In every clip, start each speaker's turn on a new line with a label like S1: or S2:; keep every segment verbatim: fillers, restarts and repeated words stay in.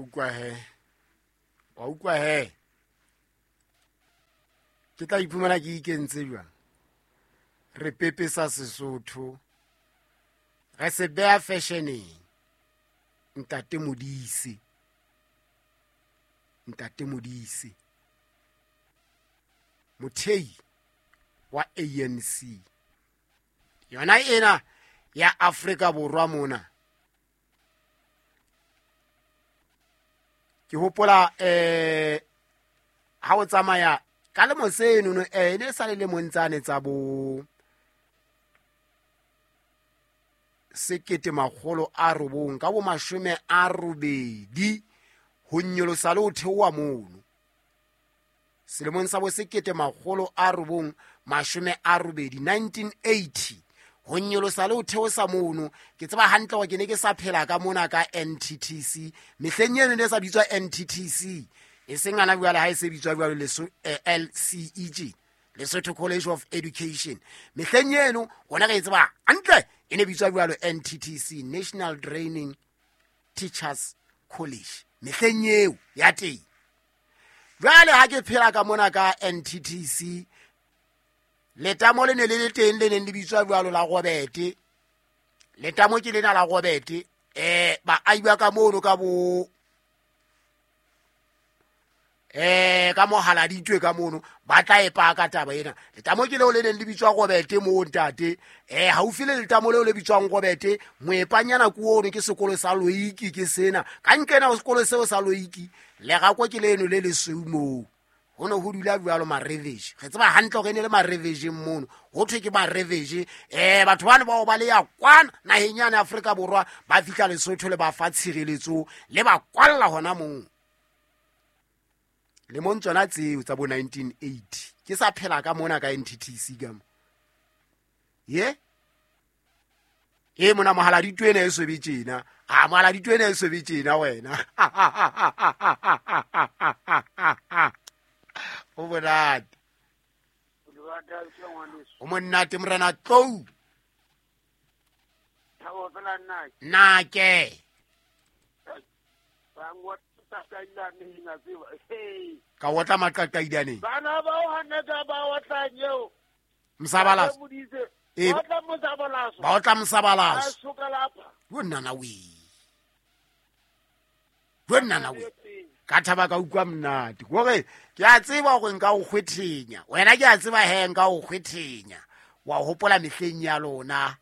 S1: Wa utlwa he, wa utlwa he, ke tla iphumana ke ikentse jwang. Re pepesa Sesotho, re se beha fashioneng. Ntate Modise, Ntate Modise, mothei wa A N C yona ena ya Afrika Borwa mona. Ke hopola eh ha o tsamaya ka lemo seno no, eh ne sa le lemong tsane tsa bo sekete makgolo a robong ka bo mashome a robedi ho nyolosa le ho theoha mono selemong sa bo sekete makgolo a robong mashome a robedi, nineteen eighty, ho nyolosa le ho theosa mono. Ke tseba hantle hore ke ne ke sa phela ka mona ka N T T C. Mehleng eno ne e sa bitswa N T T C, e seng ana jwale ha e se bitswa jwalo leso eh, L C E G, Lesotho College of Education. Mehleng eno rona re e tseba hantle, e ne bitswa jwalo N T T C, National Training Teachers College, mehleng eo ya teng. Jwale ha ke phela ka mona ka N T T C, letamo le ne le le teng le neng le bitswa jwalo la Robete. Letamo ke lena la Robete. eh baahi ba ka mono ka bo eh ka mohaladitwe ka mono ba tla e paka taba ena. Letamo ke leo le neng le bitswa Robete moo, ntate. eh haufi le letamo leo le bitswang Robete, moepanyana ko ono ke sekolo sa Loiki. Ke sena ka nkena ho sekolo seo sa Loiki, lerako ke leno le lesweu moo ho ne ho dula jwalo mareveje. Re tseba hantle hore e ne le marevejeng mono, ho thwe ke mareveje. um batho bane bao ba le ya kwana naheng yane Afrika Borwa, ba fihla Lesotho le ba fa tshireletso, le ba kwalla hona moo. Lemong tsona tseo tsa bo nineteen eighty, ke sa phela ka mona ka N T T C ka mo ye e mona mohaladitwe ena e sobe tjena. A mohaladitwe ena e sobe tjena wena, o monate, o monate, morena Tlou.
S2: Thabo fela nna.
S1: Nake.
S2: Ba ngwa taqailaneng a tseba. Hey.
S1: Ka otla maqaqailaneng.
S2: Bana ba o hana ka ba otlang eo.
S1: Mosabalaso.
S2: Modise.
S1: Eh.
S2: Ba otla mosabalaso.
S1: Ba otla
S2: Ba
S1: mosabalaso.
S2: Soka lapha.
S1: Yo nnana we, yo nnana we, ka thaba ka utlwa monate kore ke a tseba gore nka o kgwethenya wena. Ke a tseba he nka o kgwethenya wa hopola mehleng ya lona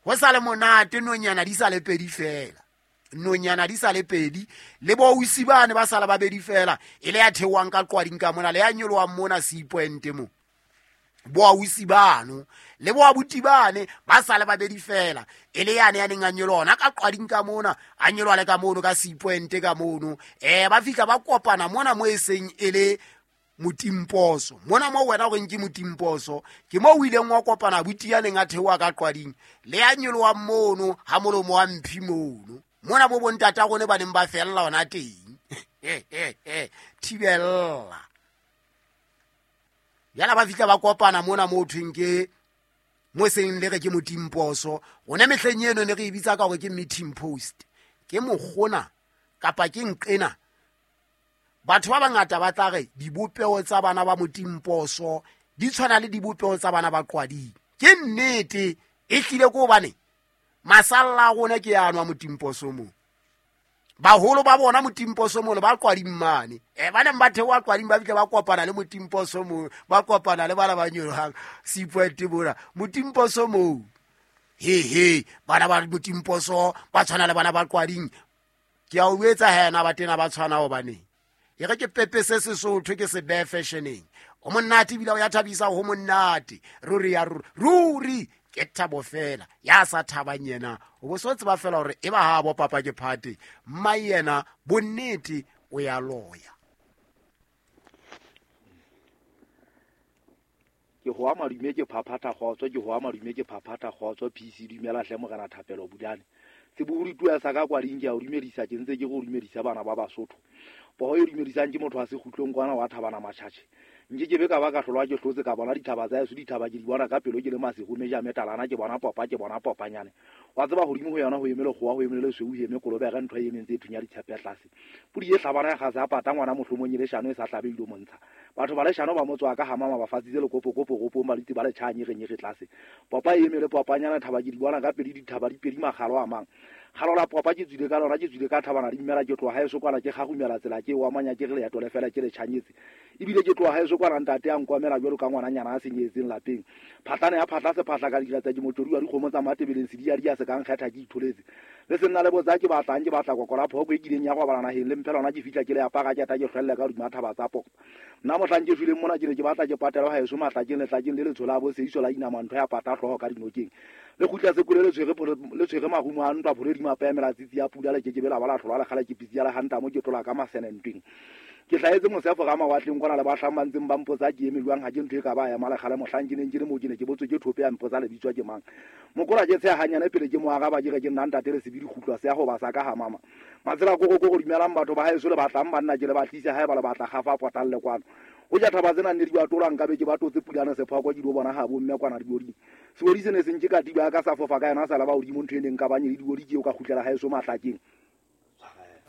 S1: go sa le monate, nonyana di sa le pedi fela, nonyana di sa le pedi, le bo ausi bane ba sala babedi fela, e le ya theohang ka qwading ka mona le ya nyolohang mona Seapoint mo. Bo ausi bano le bo abuti bane ba sale babedi fela, e le yane ya neng a nyoloha ona ka qwading ka mona, a nyoloha le ka mono ka Seapoint ka mono. um ba fihla ba kopana mona mo e seng e le motimposo mona mo wena o reng ke motimposo, ke mo o ileng wa kopana abuti ya neng a theoha ka qwading le ya nyolohang mono ha molomo wa mphi mono mona bo bontata rone ba neng ba fella ona teng thibella. Jala ba fihla ba kopana mona mo thweng ke mo seng le re ke motimposo. Rona mehleng eno ne re e bitsa ka hore ke meeting post, ke mokgona kapa ke nqena. Batho ba bangata ba tla re dibopeho tsa bana ba motimposo di tshwana le dibopeho tsa bana ba qwading. Ke nnete, e hlile ke hobane masalla a rona ke ano a motimposo moo, baholo ba bona motimposo mono ba qwading mane. e ba neng ba theoha qwading ba fihle ba kopana le motimposo moo, ba kopana le bana ba nyolohang Seapoint mona motimposo moo. He he, bana ba motimposo ba tshwana le bana ba qwading. Ke a o etsa hena ba tena ba tshwana hobaneng e re ke pepese Sesotho, ke se behe fashioneng. O monate ebile o ya thabisa, ho monate ruri ya ruri ruri, ke thabo fela. Ya sa thabang yena o bo so tseba fela hore e ba ha bo papa ke phate mma yena bonnete o ya loya.
S3: Ke hoa madume, ke phaphatha kgotso, ke hoa madume, ke phaphatha kgotso. P C, dumela hle morena Thapelo Budane sebohodi tuya sa ka kwading. Ke a o dumedisa, ke ntse ke go dumedisa bana ba Basotho. Poho e dumedisang ke motho wa sekgutlong kwana wa Thabana Matšhatšhe. Nke ke be ka ba ka hlolwa ke hlotse ka bona dithaba tsa heso, dithaba ke di bona ka pelo ke le masego meja metalana, ke bona popa, ke bona popanyane. Wa tseba hodimo ho yona ho eme lekgowa, ho eme le lesweu, ho eme kolobere, ntho e emeng tse thunya ditshepe tlase. Pudi e hlabana ya kgase ya pata ngwana mohlomong e leshano e sa hlabe ilo montsha. Batho ba leshano ba motswa ka hamama ba fatsitse lekopokopo kopong ba ditse ba le tjha nyerenyere tlase. Popa e eme le popanyana, thaba ke di bona ka pedi, dithaba di pedi makgalo a mang. Galo la popa ke tswile ka lona, ke tswile ka thabana di mmela, ke tloha haeso kwana ke gagumela tsela ke wa manya ke re leeto le fela ke le tjhanyetse. Ebile ke tloha haeso kwana ntate a nkomela jwalo ka ngwananyana a senyetseng lapeng. Phatlana ya phatla se phatla ka dira tsa ke motswadi wa dikgomo tsa Matebeleng se di ya di ya se ka nkgetha ke itholetse. Le se nna le botsa ke batlang, ke batla kokola phoko e kileng ya go bala naheng le mphe lona ke fihla ke le apara ke ta ke hlwelle ka hodima thaba tsa poko. Nna mohlang ke shweleng mona ke ne ke batla ke patela haeso matlakeng letlakeng le letshola bo seiso la inama ntho ya pata hlooho ka dinokeng. Le kgutla sekole le tshwere le tshwere marumo a ntwa phole di mapemela tsitsi ya pula le kekebe la ba la hlola le kgale ke pitsi ya le hanta mo ke tlola ka masene ntweng. Ke hlahetse mosefo ka mawatleng kwana le bahlang ba ntseng ba mpotsa ke eme jwang, ha ke ntho e ka ba ema le kgale mohlang ke neng ke le moo ke ne ke botswe ke thope ya mpotsa le bitswa ke mang. Mokola ke tsheha hanyane pele ke mo araba ke re ke nna ntate le sebidi kgutlwa se ya ho ba sa ka ha mama. Matsela koko koko dumelang batho ba haeso le batlang banna ke le batlise haeba le batla kgafa potang le kwano. O ja thaba tsena nne di ba tolang ka be ke ba totse pulana sephoko ke di bona ha bo mme kwana dioding. Seodi se ne se nke ka tiba ka sa fofa ka yena sa la ba hodimo ntho e neng ka banye le diodi ke o ka kgutlela haeso matlakeng.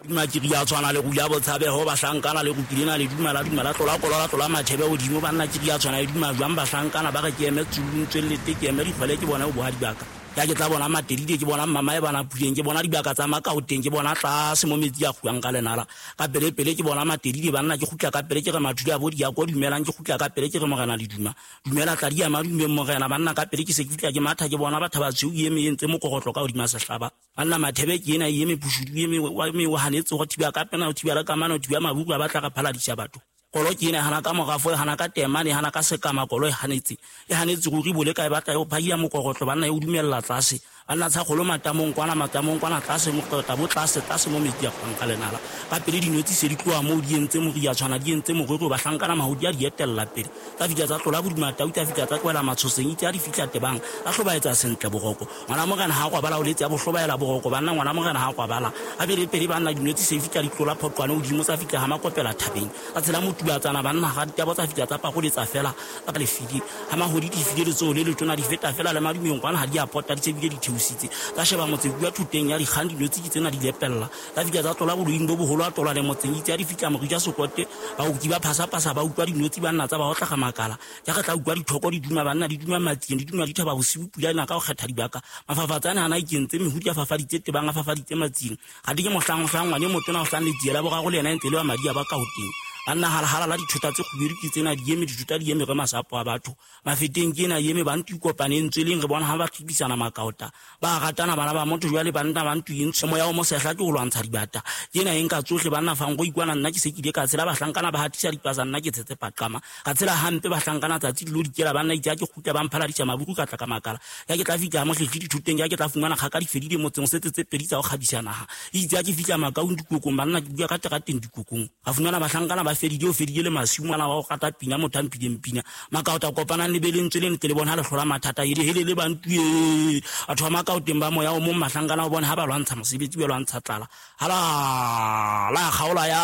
S4: Duma ke ria tshwana le rula botshabeho bahlankana le rupilena le duma la duma la tlola kolola tlola mathebe hodimo banna ke ria tshwana le duma jwang bahlankana ba re ke eme tsulung tswellete ke eme dikgwele ke bona ho boha dibaka. Ya ke tla bona Matelile, ke bona mama e bana puleng, ke bona dibaka tsa Makaoteng, ke bona tlase mo metsi a kguang ka lenala. Ka pele pele ke bona Matelile banna ke kgutla ka pele ke re mathule a bo di a ko dumelang, ke kgutla ka pele ke re morena le duma. Dumela tla di ya madumeng morena banna ka pele ke se ke fihla ke matha ke bona batho ba tshweu e eme e ntse mokogotlo ka hodima sehlaba. Banna mathebe ke ena e eme pushudu e eme wa me wa hanetse go thiba ka pena o thiba le kamano o thiba mabuku ba batla ka phaladisa batho. Kolo ke ena hana ka morafo, hana ka temane, hana ka sekama, kolo e hanetse. E hanetse ruri bole ka e batla e phaia mokogotlo banna e o dumella tlase. Banna tsa kgolo matamong kwana matamong kwana tlase mokota bo tlase tlase mo metsi a kgwang ka lenala. Ka pele dinotsi se di tloha moo di entse moria tshwana di entse morero bahlankana mahodi a di etella pele. Tsa fihla tsa tlola bodima tau tsa fihla tsa tlohela matshoseng itse a di fihla tebang. Tsa hlobaetsa sentle boroko. Ngwana morena ha kwabala o letse a bohlobaela boroko banna ngwana morena ha kwabala. A pele pele banna dinotsi se fihla di tlola phoqwane hodimo tsa fihla ha makopela thabeng. Tsa tshela motubatsana banna ga ditabo tsa fihla tsa pagoletsa fela tsa lefidi. Ha mahodi di file letsoho le letona di feta fela le madumeng kwana ha di a pota di tsebile di theositse. Tsa sheba motse bua thuteng ya dikgang dinotsi ke tsena di lepella. Tsa fihla tsa tlola boloing bo boholo a tlola le motseng itse a di fihla morija sokote ba utlwi ba phasa-phasa ba utlwa dinotsi banna tsa ba otla ga makala. Ja re tla utlwa dithoko di duma banna di duma matsing di duma dithaba bosiu pula ena ka ho kgetha dibaka. Mafafatsane hana ikentse mehudi a fafaditse tebang a fafaditse matsing. Ga di ke mohlang mohlang ngwane motona o hlang letsiela boraro le yena e ntse le wa madi a ba ka hoteng. Banna halahala la dithota tse kgubedu ke tsena di eme dithota di eme re masapo a batho. Mafeteng ke ena eme ba ntwe kopaneng tsweleng re bona ha ba tlhibisana makaota. Ba ratana bana ba motho jwale banna ba ntwe eng moya o mosehla ke ho lwantsha dibata. Ke ena e nka tsohle banna fang go ikwana nna ke se ke ile ka tshela bahlankana ba hatisa dipasa nna ke tshetse paqama. Ka tshela hampe bahlankana tsatsi lo dikela banna itse ke kgutla ba mphaladisa mabuku ka tla ka makala. Ya ke tla fihla mohlehle dithoteng ya ke tla fumana kgaka di fedile motseng setse tse pedi tsa ho kgabisa naha. Itse ke fihla makaung dikokong banna ke bua ka terateng dikokong. Ka fumana bahlankana ba fedile o fedile le masiu ngwana wa go rata pina motho a mphileng pina. Makaota kopanang le beleng tsweleng tle le bona ha le hlola mathata ele hele le bantu e. Batho ba Makaoteng ba moya o mong mahlankana o bona ha ba lwantsha mosebetsi ba lwantsha tlala. Hala la kgaola ya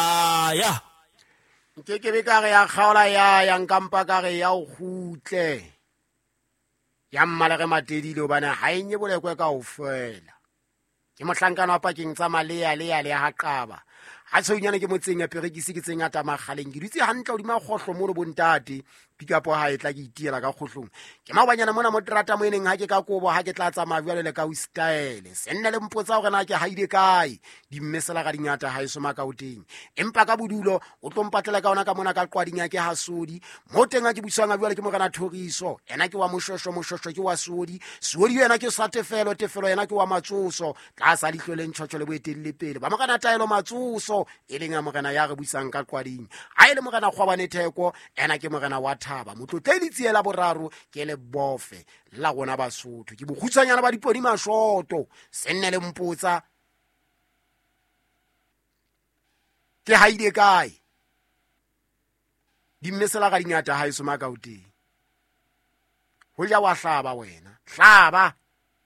S4: ya.
S1: Nke ke be ka re ya kgaola ya ya nkampa ka re ya o kgutle. Ya mmalere Matedile hobane ha e nye bolekwe kaofela. Ke mohlankana wa pakeng tsa Malea le ya le ha Qaba. Ha tshwenyana ke motseng ya Perekisi ke tseng ya Tamakgaleng. Ke dutse hantle hodima kgohlo mono bontate. Pikapo ha e tla ke itiela ka kgohlong. Ke maobanyana mona mo terata mo eneng ha ke ka kobo ha ke tla tsamaya jwale le ka o style. Se nne le mpotsa hore na ke haile kae. Dimmesela ga dingata ha eso Makaoteng. Empa ka bodulo o tlo mpatlela ka ona ka mona ka qwading ya ke Hasodi. Mo teng ha ke buswang jwale ke morena Thoriso. Ena ke wa Moshosho, Moshosho ke wa Sodi. Sodi yena ke sa Tefelo, Tefelo yena ke wa Matsoso. Tlasa leihlo le ntjhotjho le boetelle pele. Ba morena Taelo Matsoso e leng a morena ya re buisang ka qwading. Ha e le morena Kgwabane Theko, ena ke morena wa Thaba. Motlotle letsiela boraro ke le bofe la rona Basotho. Ke bokgutshwanyana ba dipodi mashoto. Se nne le mpotsa ke haile kae. Dimmesela ga dingata ha eso Makaoteng. Ho ja wa hlaba wena. Hlaba,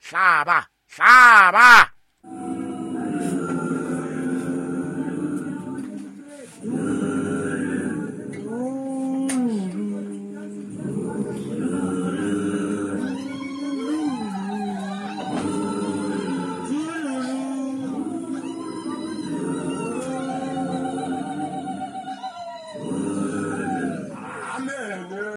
S1: hlaba, hlaba.